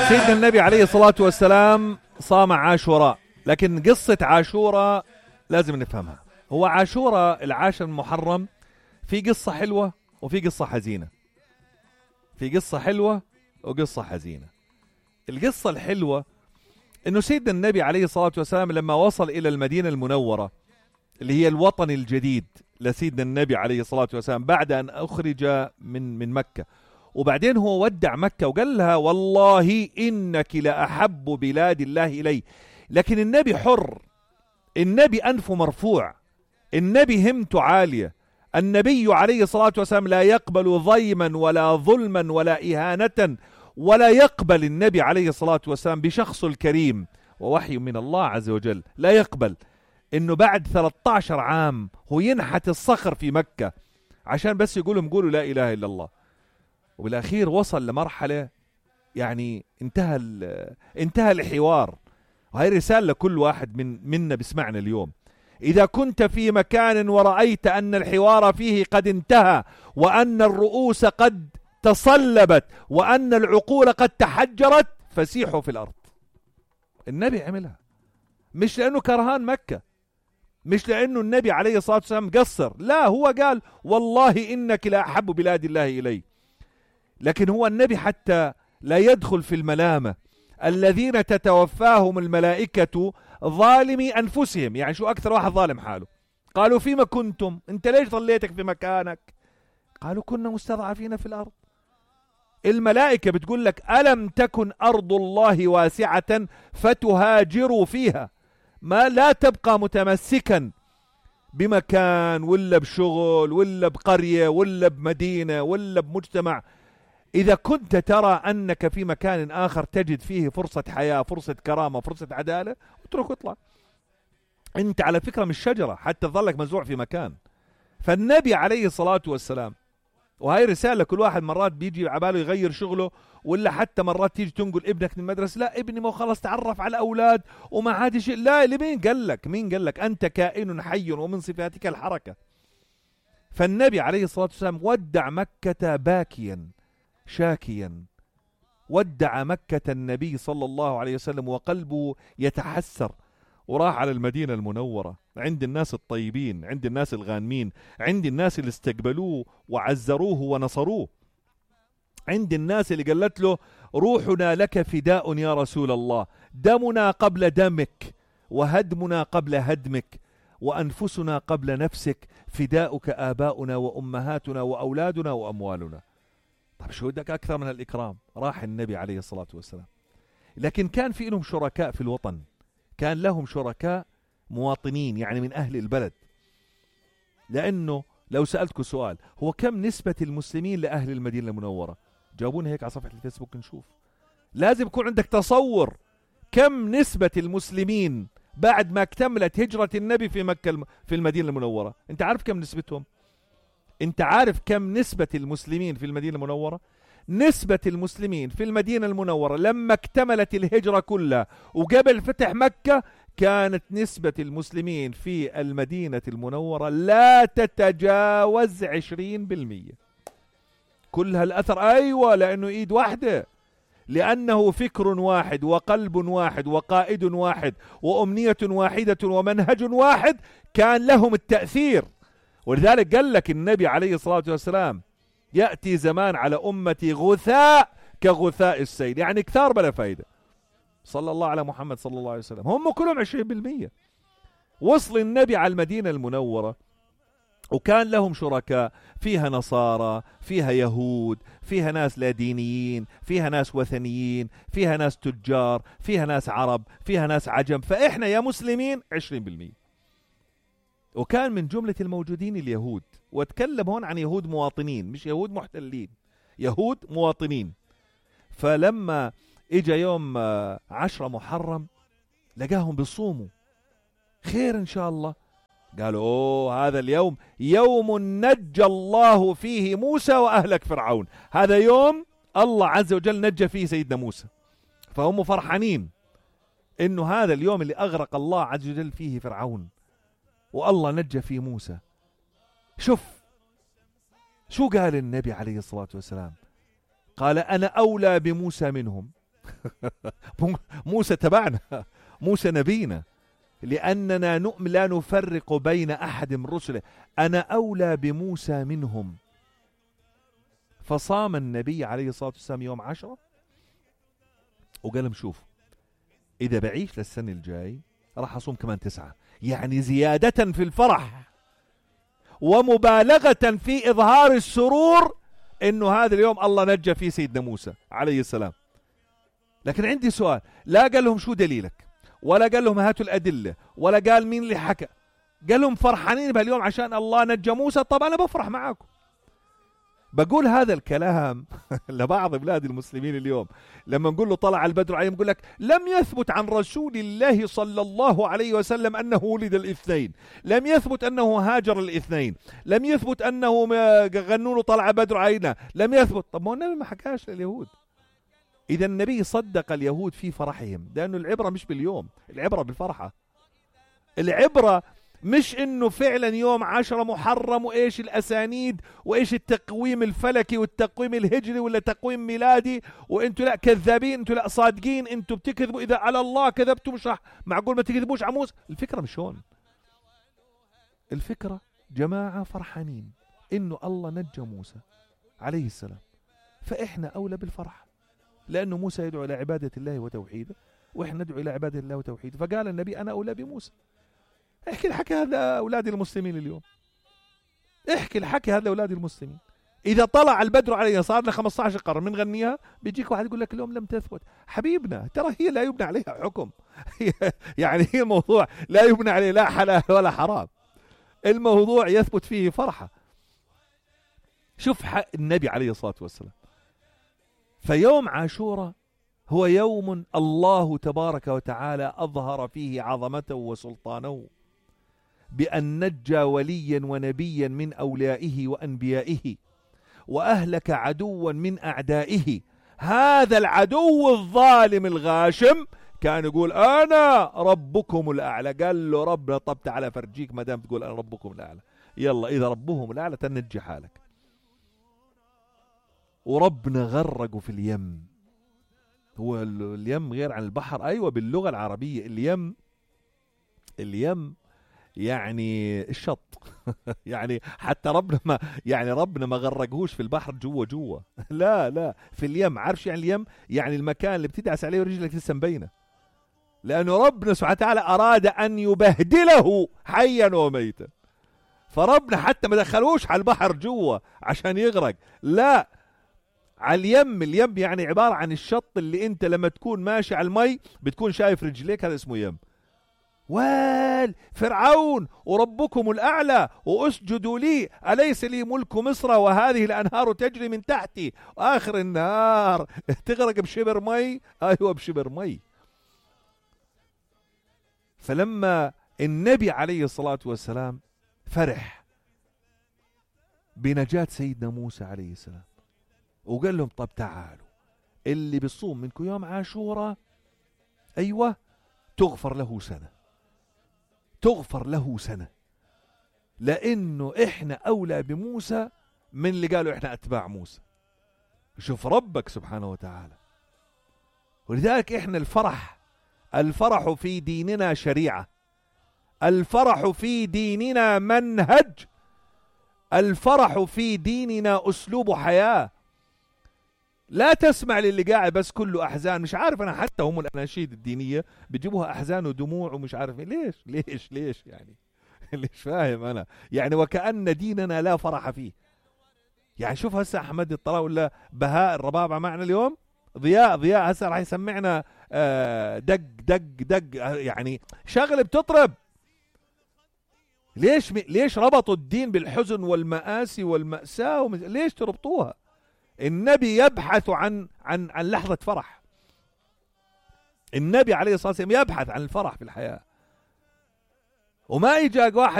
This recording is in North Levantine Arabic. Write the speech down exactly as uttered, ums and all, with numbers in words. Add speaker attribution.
Speaker 1: سيدنا النبي عليه الصلاة والسلام صام عاشوراء، لكن قصة عاشوراء لازم نفهمها. هو عاشوراء العاشر المحرم في قصة حلوة وفي قصة حزينة، في قصة حلوة وقصة حزينة. القصة الحلوة انه سيدنا النبي عليه الصلاة والسلام لما وصل الى المدينة المنورة اللي هي الوطن الجديد لسيدنا النبي عليه الصلاة والسلام بعد ان اخرج من من مكة، وبعدين هو ودع مكة وقال لها والله انك لأحب بلاد الله الي. لكن النبي حر، النبي انفه مرفوع، النبي همته عالية، النبي عليه الصلاة والسلام لا يقبل ضيما ولا ظلما ولا إهانة، ولا يقبل النبي عليه الصلاة والسلام بشخص الكريم ووحي من الله عز وجل، لا يقبل انه بعد ثلاثة عشر عام هو ينحت الصخر في مكة عشان بس يقولهم قولوا لا اله الا الله. وبالاخير وصل لمرحلة يعني انتهى انتهى الحوار. وهي رسالة لكل واحد من منا بسمعنا اليوم: إذا كنت في مكان ورأيت أن الحوار فيه قد انتهى، وأن الرؤوس قد تصلبت، وأن العقول قد تحجرت، فسيحوا في الأرض. النبي عملها مش لأنه كرهان مكة، مش لأنه النبي عليه الصلاة والسلام قصر، لا، هو قال والله إنك لا أحب بلاد الله إلي. لكن هو النبي حتى لا يدخل في الملامة الذين تتوفاهم الملائكة ظالمي أنفسهم. يعني شو أكثر واحد ظالم حاله؟ قالوا فيما كنتم، أنت ليش ظليتك في مكانك؟ قالوا كنا مستضعفين في الأرض. الملائكة بتقول لك ألم تكن أرض الله واسعة فتهاجروا فيها، ما لا تبقى متمسكا بمكان ولا بشغل ولا بقرية ولا بمدينة ولا بمجتمع. إذا كنت ترى أنك في مكان آخر تجد فيه فرصة حياة، فرصة كرامة، فرصة عدالة، اترك واطلع. أنت على فكرة مش شجرة حتى تظلك مزروع في مكان. فالنبي عليه الصلاة والسلام، وهي رسالة كل واحد مرات بيجي عباله يغير شغله، ولا حتى مرات تيجي تنقل ابنك من المدرسة، لا ابني ما خلص تعرف على أولاد وما عاد شيء. لا، مين قال لك؟ مين قال لك؟ أنت كائن حي ومن صفاتك الحركة. فالنبي عليه الصلاة والسلام ودع مكة باكيا شاكيا، ودع مكة النبي صلى الله عليه وسلم وقلبه يتحسر، وراح على المدينة المنورة عند الناس الطيبين، عند الناس الغانمين، عند الناس اللي استقبلوه وعزروه ونصروه، عند الناس اللي قالت له روحنا لك فداء يا رسول الله، دمنا قبل دمك وهدمنا قبل هدمك وأنفسنا قبل نفسك، فداؤك آباؤنا وأمهاتنا وأولادنا وأموالنا. طب شو بدك أكثر من الإكرام؟ راح النبي عليه الصلاة والسلام. لكن كان في لهم شركاء في الوطن، كان لهم شركاء مواطنين يعني من أهل البلد. لأنه لو سألتكم سؤال، هو كم نسبة المسلمين لأهل المدينة المنورة؟ جاوبونا هيك على صفحة الفيسبوك نشوف. لازم يكون عندك تصور كم نسبة المسلمين بعد ما اكتملت هجرة النبي في مكة في المدينة المنورة. انت عارف كم نسبتهم؟ انت عارف كم نسبة المسلمين في المدينة المنورة؟ نسبة المسلمين في المدينة المنورة لما اكتملت الهجرة كلها وقبل فتح مكة، كانت نسبة المسلمين في المدينة المنورة لا تتجاوز عشرين بالمية. كل هالأثر أيوة، لأنه إيد واحدة، لأنه فكر واحد وقلب واحد وقائد واحد وأمنية واحدة ومنهج واحد كان لهم التأثير. ولذلك قال لك النبي عليه الصلاة والسلام يأتي زمان على أمتي غثاء كغثاء السيل، يعني كثار بلا فايدة. صلى الله على محمد صلى الله عليه وسلم، هم كلهم عشرين بالمية. وصل النبي على المدينة المنورة وكان لهم شركاء، فيها نصارى، فيها يهود، فيها ناس لا دينيين، فيها ناس وثنيين، فيها ناس تجار، فيها ناس عرب، فيها ناس عجم. فإحنا يا مسلمين عشرين بالمية. وكان من جملة الموجودين اليهود، واتكلم هون عن يهود مواطنين مش يهود محتلين، يهود مواطنين. فلما اجا يوم عشرة محرم لقاهم بيصوموا، خير ان شاء الله. قالوا اوه هذا اليوم يوم نجى الله فيه موسى واهلك فرعون، هذا يوم الله عز وجل نجى فيه سيدنا موسى. فهم فرحانين انه هذا اليوم اللي اغرق الله عز وجل فيه فرعون والله نجى فيه موسى. شوف شو قال النبي عليه الصلاة والسلام، قال أنا أولى بموسى منهم. موسى تبعنا، موسى نبينا، لأننا نؤمن لا نفرق بين أحد من رسله، أنا أولى بموسى منهم. فصام النبي عليه الصلاة والسلام يوم عشرة وقال لهم شوف إذا بعيش للسنة الجاي راح أصوم كمان تسعة، يعني زيادة في الفرح ومبالغة في إظهار السرور إنه هذا اليوم الله نجى فيه سيدنا موسى عليه السلام. لكن عندي سؤال، لا قال لهم شو دليلك، ولا قال لهم هاتوا الأدلة، ولا قال مين اللي حكى، قال لهم فرحانين بهاليوم عشان الله نجى موسى. طب أنا بفرح معاكم. بقول هذا الكلام لبعض بلاد المسلمين اليوم لما نقول له طلع البدر عليهم، يقول لك لم يثبت عن رسول الله صلى الله عليه وسلم أنه ولد الاثنين، لم يثبت أنه هاجر الاثنين، لم يثبت أنه غنوا له طلع بدر علينا، لم يثبت. طب ما النبي ما حكاش لليهود. إذا النبي صدق اليهود في فرحهم، لأنه العبرة مش باليوم، العبرة بالفرحة. العبرة مش انه فعلا يوم عشرة محرم وايش الاسانيد وايش التقويم الفلكي والتقويم الهجري ولا تقويم ميلادي، وانتوا لا كذابين، انتوا لا صادقين، انتوا بتكذبوا، اذا على الله كذبتوا مش راح معقول ما تكذبوش على موسى. الفكرة مش هون، الفكرة جماعة فرحانين انه الله نجى موسى عليه السلام، فاحنا اولى بالفرح، لانه موسى يدعو الى عبادة الله وتوحيده، واحنا ندعو الى عبادة الله وتوحيده. فقال النبي انا اولى بموسى. احكي الحكي هذا أولاد المسلمين اليوم، احكي الحكي هذا أولاد المسلمين. إذا طلع البدر علينا صار لنا خمسة عشر قرن من غنيها، بيجيك واحد يقول لك اليوم لم تثبت. حبيبنا ترى هي لا يبنى عليها حكم يعني هي الموضوع لا يبنى عليه لا حلال ولا حرام، الموضوع يثبت فيه فرحة. شوف حق النبي عليه الصلاة والسلام. فيوم عاشوراء هو يوم الله تبارك وتعالى أظهر فيه عظمته وسلطانه بأن نجى وليا ونبيا من أوليائه وأنبيائه، وأهلك عدوا من أعدائه. هذا العدو الظالم الغاشم كان يقول أنا ربكم الأعلى. قال له ربنا طب تعالى فرجيك ما دام تقول أنا ربكم الأعلى، يلا إذا ربهم الأعلى تنجي حالك. وربنا غرقوا في اليم. هو اليم غير عن البحر، أيوة باللغة العربية اليم، اليم يعني الشط يعني حتى ربنا ما يعني ربنا ما غرقوش في البحر جوا جوا لا لا في اليم. عارف يعني اليم؟ يعني المكان اللي بتدعس عليه ورجلك لسه مبينه، لأنه ربنا سبحانه وتعالى أراد أن يبهدله حيا وميتا. فربنا حتى ما دخلوش على البحر جوا عشان يغرق، لا على اليم. اليم يعني عبارة عن الشط اللي انت لما تكون ماشي على المي بتكون شايف رجليك، هذا اسمه يم. وال فرعون وربكم الأعلى وأسجدوا لي أليس لي ملك مصر وهذه الأنهار تجري من تحتي، وآخر النهار تغرق بشبر مي. أيوة بشبر مي. فلما النبي عليه الصلاة والسلام فرح بنجاة سيدنا موسى عليه السلام وقال لهم طب تعالوا اللي بيصوم منكم يوم عاشوراء أيوة تغفر له سنة، تغفر له سنة، لأنه إحنا أولى بموسى من اللي قالوا إحنا أتباع موسى. شوف ربك سبحانه وتعالى. ولذلك إحنا الفرح، الفرح في ديننا شريعة، الفرح في ديننا منهج، الفرح في ديننا أسلوب حياة. لا تسمع للي قاعد بس كله أحزان. مش عارف أنا حتى هم الأناشيد الدينية بيجيبوها أحزان ودموع ومش عارف ليش ليش ليش يعني ليش فاهم أنا يعني وكأن ديننا لا فرح فيه. يعني شوف هسه أحمد الطلاء ولا بهاء الربابة معنا اليوم، ضياء ضياء هسه راح يسمعنا دق دق دق يعني شغل بتطرب. ليش ليش ربطوا الدين بالحزن والمآسي والمأساة ومز... ليش تربطوها؟ النبي يبحث عن عن عن لحظة فرح. النبي عليه الصلاة والسلام يبحث عن الفرح في الحياة، وما يجاك واحد